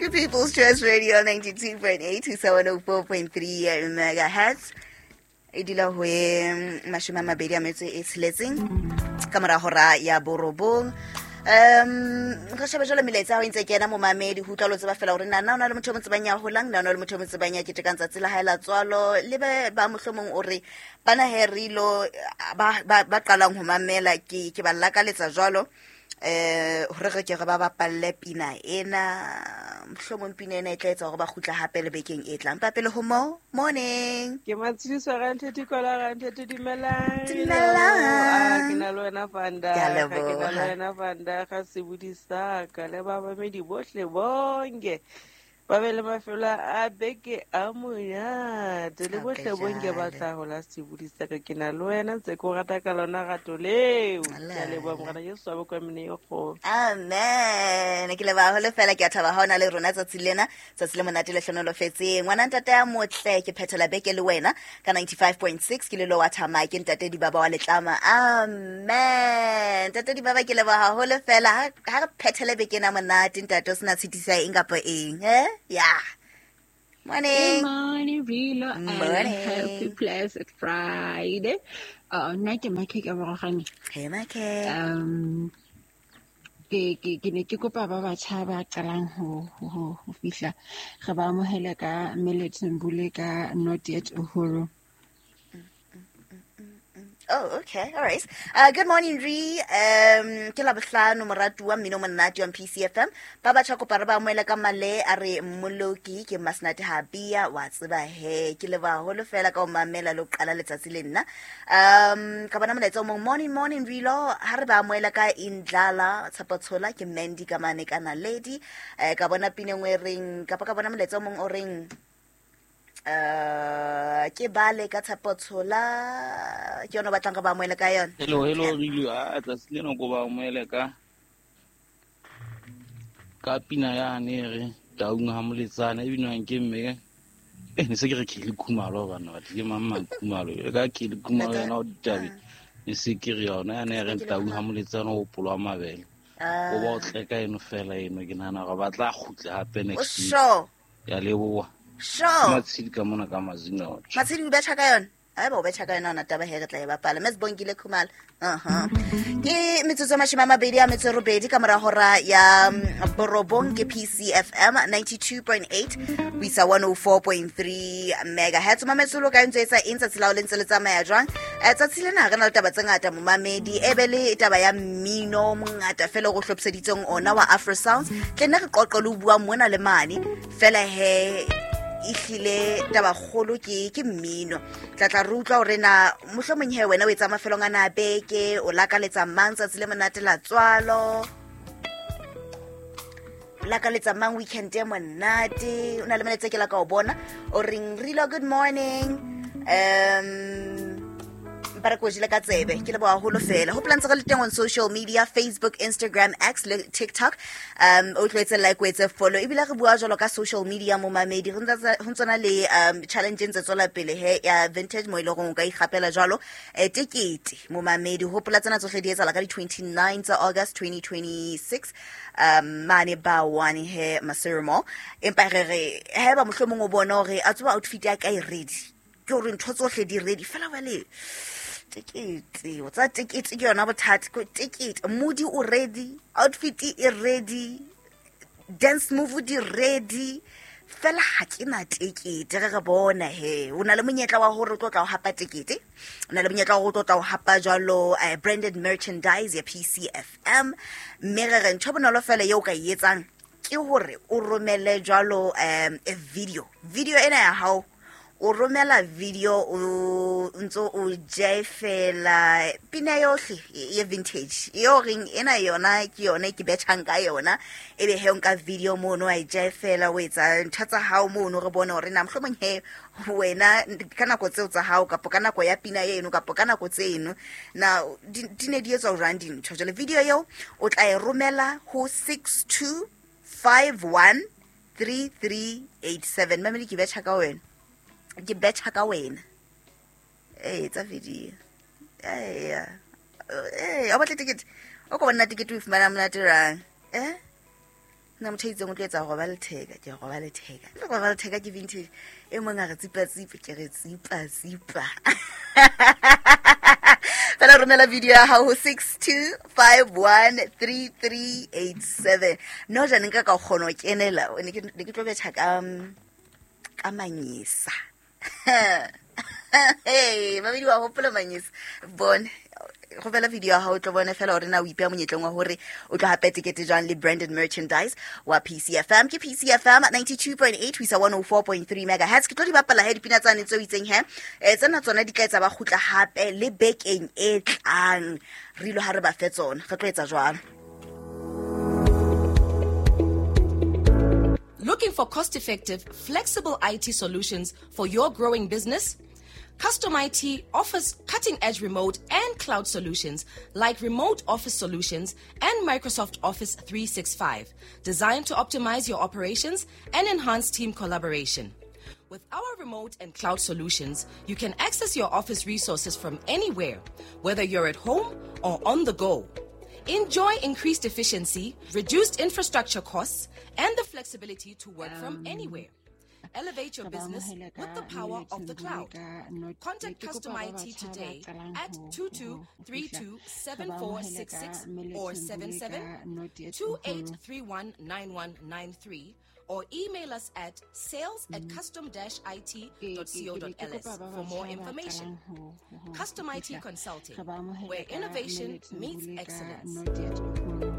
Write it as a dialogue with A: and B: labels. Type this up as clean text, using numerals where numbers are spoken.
A: Ke People's Choice Radio 92.8 to 104.3 megahertz. E dula ho e 28 ka mora hora ya borobong. Re shebe jwale melaetsa ya hao e ntse kena momamedi, ho utlwa lo tseba fela hore na na o na le motho o mo tsebang ya holang, na o na le motho o mo tsebang ya ketekang tsatsi la hae la tswalo, le be ba mohlomong o re bana he re ilo ba qalang ho mamela, ke ba lakaletsa jwalo, hore re ke re ba bapalle pina ena, mohlomong pina ena e tla etsa hore ba kgutla hape le bekeng e tlang. Pele ho mo morning.
B: Ke Matshidiso Rantete Kola Rantete, dumelang.
A: Dumelang.
B: Ah, ke na le wena Fanda.
A: Ke a
B: Ke na le
A: leboha.
B: wena Fanda ga sebodi sa ka le ba bamedi bohle bonke. Ba be le mafelo a beke a monate le bohle bonke ba tla ho la sebodi sa ka. Ke na le wena ntse ke o rata ka lona rato leo. Ke a leboha morena Jesu wa bokwa mene e kgolo.
A: Amen. Ke leboha haholo fela, ke a thaba ha o na le rona tsatsi lena, tsatsi le monate le hlonolofetseng. Ngwana ntate ya motle, ke phethela beke le wena ka 95.6, ke le lo wa thama, ke ntate Dibaba wa Letlama. Amen. Ntate Dibaba, ke leboha haholo fela. Ha re phethele beke ena monate, ntate, o sena tshitiso ya eng kapa eng, eh? Yeah. Morning.
C: Good morning, Rilo, and
A: Morning.
C: happy blessed Friday. Nna ke Makhe ka Morogane.
A: Hey, Makhe.
C: Ke ne ke kopa ba batjha ba qalang ho fihla, re ba amohele ka Milton Mbule ka Not Yet Uhuru.
A: Oh, okay. All right. Good morning, Ri. Ke Labohlano, moratuwa mmino monate on PCFM. Ba batjha kopa re ba amohele ka male a re Mmoloki ke Masnate Habia wa tseba he. Ke leboha haholo fela ka ho mamela le ho qala letsatsi le nna. Ka bona molaetsa o mong, morning, morning, Rilo. Ha re ba amohela ka Indlala, Tshepo Tshola, ke Mandy ka mane ka Naledi. Ka bona pina e nngwe e reng, kapa ka bona molaetsa o mong o reng, ke bale ka Tshepo Tshola, ke yona o batlang re ba amohele ka yona.
D: Hello, hello, Rilo. A tsatsi lena ko ba amohele ka pina yane e re Taung ha Moletsane, e binwang ke mme. Ne se ke re Kelly Khumalo, bana ba ke mang mang Khumalo. E ka Kelly Khumalo yena o ditabe. Ne se ke re yona yane e re Taung ha Moletsane o polwa mabele. O ba o tleka eno fela eno, ke nahana hore ba tla kgutla hape next week.
A: Sure.
D: Ya leboha.
A: Sure.
D: Matshedi ka mona ka Mazino.
A: Matshedi o betjha ka yona? Haeba o betjha ka yona, ona taba he re tla e bapala. Mme Sibongile Khumalo. Uh-huh. Ke metsotso 28 ka mora hora ya borobong, ke PCFM 92.8 ho isa 104.3 megahertz. Mametse lo ka ntse etsa eng tsatsi la ho le ntse le tsamaya jwang? Tsatsi lena re na le taba tse ngata momamedi, e be le taba ya mmino o mongata fela o re hlophiseditseng ona wa Afro Sounds. Tle nne re qoqe le ho bua mona le mane fela he ehlile taba kgolo ke mmino. Tla tla re utlwa hore na mohlomong he wena o etsa mafelong ana a beke, o lakaletsa mang tsatsi le monate la tswalo, o lakaletsa mang weekend e monate. O na le molaetsa ke la ka o bona o reng Rilo, good morning. Mpa re ko jele ka tsebe, ke leboha haholo fela. Hopola ntse re le teng on social media, Facebook, Instagram, X le TikTok. O tlo etse like, o etse follow. Ebile re bua jwalo ka social media momamedi, ho ntsona le challenge e ntse tswela pele he ya vintage, mo e leng hore o ka ikgapela jwalo, tekete momamedi. Hopola tsena tsohle di etsahala ka di 29 tsa August 2026, mane ba one he Maseru Mall. Empa re re haeba mohlomong o bona hore a tseba outfit ya ka e ready, ke hore ntho tsohle di ready fela jwale tekete, o tsa tekete ke yona bothata, ke tekete, mood o ready, outfit e ready, dance move di ready, fela ha ke na tekete. Re re bona he o na le monyetla wa hore o tlo tla o hapa tekete, o na le monyetla wa hore o tlo tla o hapa jwalo, branded merchandise ya PCFM. Mme re re ntho e bonolo fela eo o ka e etsang ke hore o romele jwalo, a video. Video ena ya hao, o romela video o ntso o jefela pina yohle ye vintage eo reng ena yona ke yona e ke betjhang ka yona, ebe he o nka video mono wa e jefela, o etsa ntho tsa hao mono, re bone hore na mohlomong he wena ka nako tseo tsa hao kapo ka nako ya pina eno kapo ka nako tseno na di ne di etswa jwang dintho. Jwale video eo o tla e romela ho 62513387. Mamedi, ke betjha ka wena, ke betjha ka wena. Ee, tsa video. Eya. Ee, o batla ticket? O ko bona ticket o e fumana monate jwang? Nna motho a itseng o tlo etsa roba letheka, ke roba letheka. Le roba letheka ke vintage. E mong a re tsipa tsipa, ke re tsipa tsipa. Fela romela video ya hao ho 62513387. No ja ne nka ka kgona ho kenela, ne ke tlo betjha ka manyesa. Hey, babedi wa hopola manyesa. Bone romela video ya hao, o tlo bone fela hore na o ipeha monyetleng wa hore o tlo hape tekete jwang le branded merchandise wa PCFM. Ke PCFM 92.8 ho isa 104.3 megahertz. Ke tlo di bapala he dipina tsane tseo itseng he. Tsena tsona di tla etsa ba kgutla hape le bekeng e tlang. Re ilo ha re ba fe tsona, re tlo etsa jwalo.
E: Looking for cost-effective, flexible IT solutions for your growing business? Custom IT offers cutting-edge remote and cloud solutions like remote office solutions and Microsoft Office 365, designed to optimize your operations and enhance team collaboration. With our remote and cloud solutions, you can access your office resources from anywhere, whether you're at home or on the go. Enjoy increased efficiency, reduced infrastructure costs, and the flexibility to work from anywhere. Elevate your
C: Re ba
E: business
C: amohele
E: with
C: ka
E: the power of the
C: Millet Mbule
E: cloud.
C: ka Not
E: Contact
C: ke kopa
E: Custom
C: ba
E: IT
C: batjha ba
E: today
C: qalang
E: at
C: ho fihla, re ba amohele ka
E: 22327466
C: Millet
E: or
C: Mbule
E: 77
C: ka Not Yet Uhuru.
E: 28319193 or email us at sales at
C: Ke ke be ke
E: custom-it.co.ls
C: kopa ba
E: for more
C: batjha ba
E: information.
C: qalang ho
E: Custom IT
C: fihla,
E: Consulting,
C: re ba amohele
E: where
C: ka
E: innovation
C: Millet
E: meets
C: Mbule ka
E: excellence.
C: Not Yet Uhuru.